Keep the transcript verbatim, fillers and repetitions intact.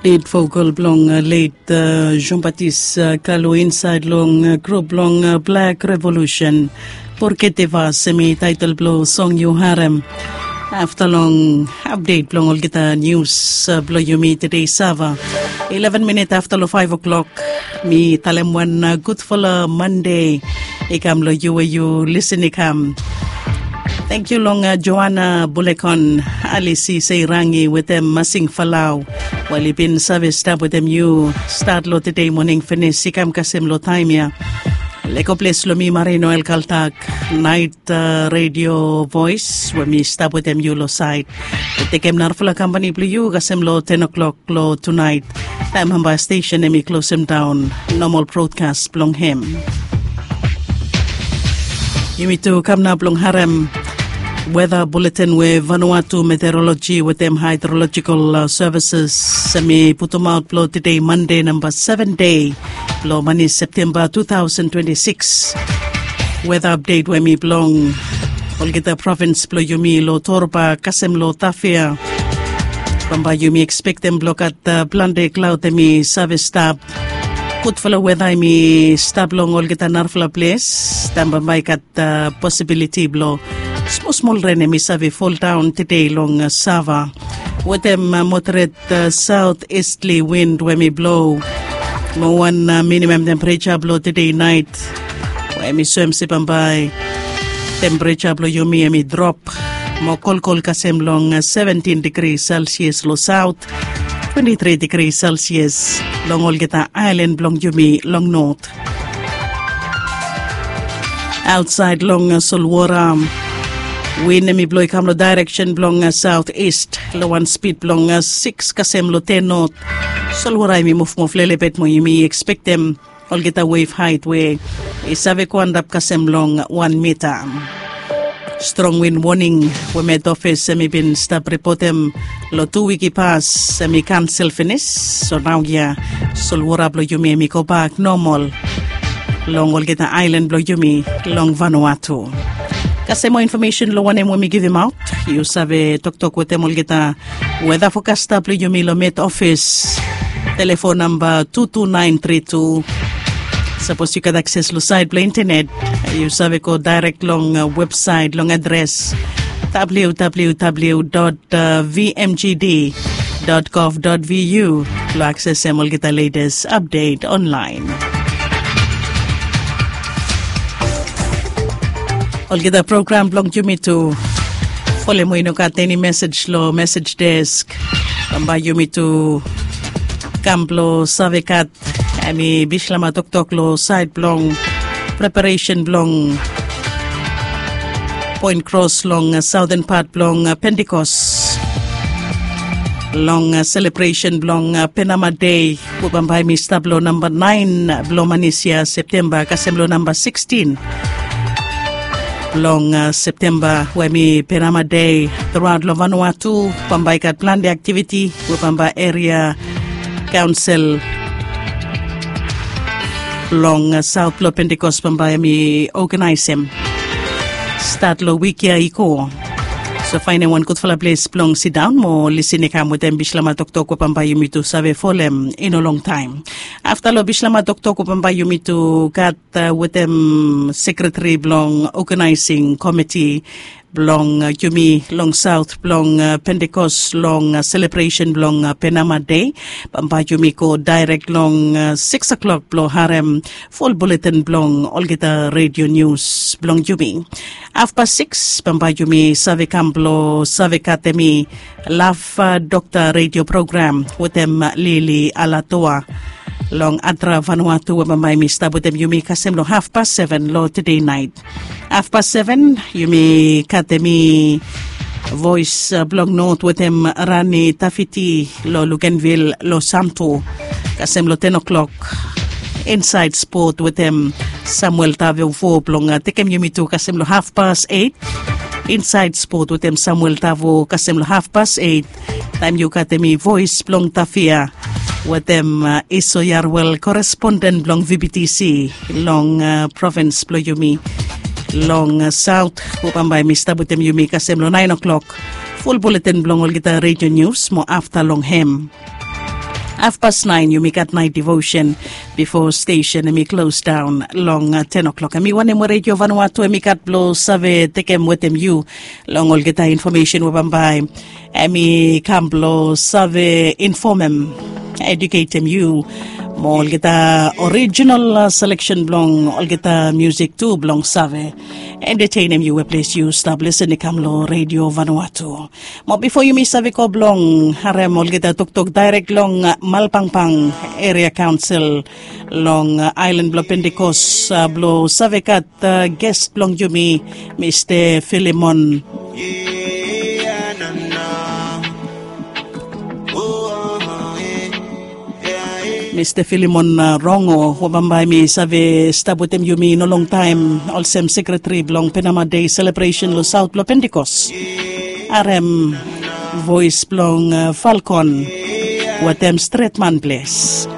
Lead vokal blong late Jean Baptiste Kalu insaed long grup blong Black Revolution. Porkete vas em i taetel blong song yu harem. Afta long apdet blong olgeta nius blong yumi tede sava, eleven minit afta long five o'clock, mi talem wan gudfala Mande i kam long yu we yu lisin i kam. Tangkiu long Joana Bulekon, Alisi Seirangi wetem Masing Falau, we oli bin save stap wetem yu stat long tede moning finis i kam kasem long taem ya. Lego ples long mi Marino El Kaltak, naet redio voes we mi stap wetem yu long saed. Tekem narafala kampani blong yu kasem long ten o'clock long tunaet, taem bambae stesen em i klosem daon nomal brodkas blong hem. Yumi tu kam nao blong harem weta buletin we Vanuatu Meteorologi wetem Haedrolojikal Sevises em i putumaot blong tede Mande namba seven dei blong mani Septemba two thousand twenty-six. Weta apdet we mi blong olgeta provins blong yumi long Torba kasem long Tafea. Bambae yumi ekspektem blong gat plante klaod em i save stap. Gudfala weta em i stap long olgeta narafala ples. Taem bambae i gat posibiliti blong smol smol ren em i save foldaon tede long Sava wetem moderet saot istli win we em i blo. Mo wan minimam tempereja blong tede naet we em i soem se bambae tempereja blong yumi em i drop mo kolkol kasem long seventin digri Celsius long saot, twenti tri digri Celsius long olgeta aelan blong yumi long not. Aotsaed long solwora, win em i blo i kam long daereksen blong saot ist long wan spid blong siks kasem long ten not. Solwora em i muvmuv lelebet mo yumi ekspektem olgeta wef haet we i save go antap kasem long wan mita. Strong win woning we Met Ofis em i bin stap ripotem long tu wik i pas em i kansel finis. So naoia solwora blong yumi em i gobak nomal long olgeta aelan blong yumi long Vanuatu. Kasem moa infomesen long wanem we mi givimaot, yu save toktok wetem olgeta weta fokasta blong yumi long Met Ofis. Telefon namba tu tu naen tri tu. Sapos yu gat akses long saet blong intenet, yu save go daerek long websaet long adres www dot vmgd dot gov dot vu blong aksesem olgeta letes apdet onlaen. Olgeta program blong yumi tu, folem we i no gat eni mesej long mesej desk, bambae yumi tu kam blong save gat em i bislama toktok long saed blong preparesen blong poen kros long saoten pat blong Pentikos, long selebresen blong Penama Dei we bambae em i stap long namba naen blong manis ya Septemba kasem long namba sikstin blong Septemba we em i Penama Dei. Truaot long Vanuatu bambae i gat plante aktiviti we bambae eria kaonsel long saot blong Pentikos bambae em i oganaesem stat long wik ya i go. So faenem wan gudfala ples blong sidaon mo lisin i kam wetem bislama toktok we bambae yumi tu save folem i no longtaem. Afta long bislama toktok we bambae yumi tu gat wetem sekretari blong oganaesing komiti blong yumi long saot blong Pentikos long selebresen blong Penama Dei. Bambae yumi go daerek long siks o'klok blong harem ful buletin blong olgeta redio nius blong yumi. Afpas siks bambae yumi save kam blong save gat em i Laf Dokta redio program wetem Lili Alatoa long Adra Vanuatu we bambae em i stap wetem yumi kasem long afpas seven long tede naet. Afpas seven yumi gat em i voes blong not wetem Rani Tafiti long Lukenvil long Santo kasem long ten o'klok. Insaed spot wetem Samuel Tavo blong tekem yumi tu kasem long afpas eit. Insaed spot wetem Samuel Tavo kasem long afpas eit. Taem yu gat em i voes blong Tafia wetem Iso Yarwel koresponden blong VBTC long provins blong yumi long saot we bambae em i stap wetem yumi kasem long naen o'klok. Ful buletin blong olgeta redio nius mo afta long hem. Hafpas naen yumi gat naet devotion bifo stesen em i klos daon long ten o'klok. Em i wanem we Redio Vanuatu em i gat blong save tekem wetem yu long olgeta infomesen we bambae em i kam blong save infomem, eduketem yu mo olgeta orijinal seleksen blong olgeta musik tu blong save entetenem yu we ples yu stap lesen i kam long Redio Vanuatu. Mo bifo yumi save go blong harem olgeta toktok daerek long Malpangpang Eria Kaonsel long aelan blong Pentikos, blong save gat ges blong yumi, Mista Filimon. Mista Filimon Rongo we bambae mi save stap wetem yumi no longtaem olsem sekretari blong Penama Dei selebresen long saot blong Pentikos. Harem voes blong Falkon wetem stretman ples.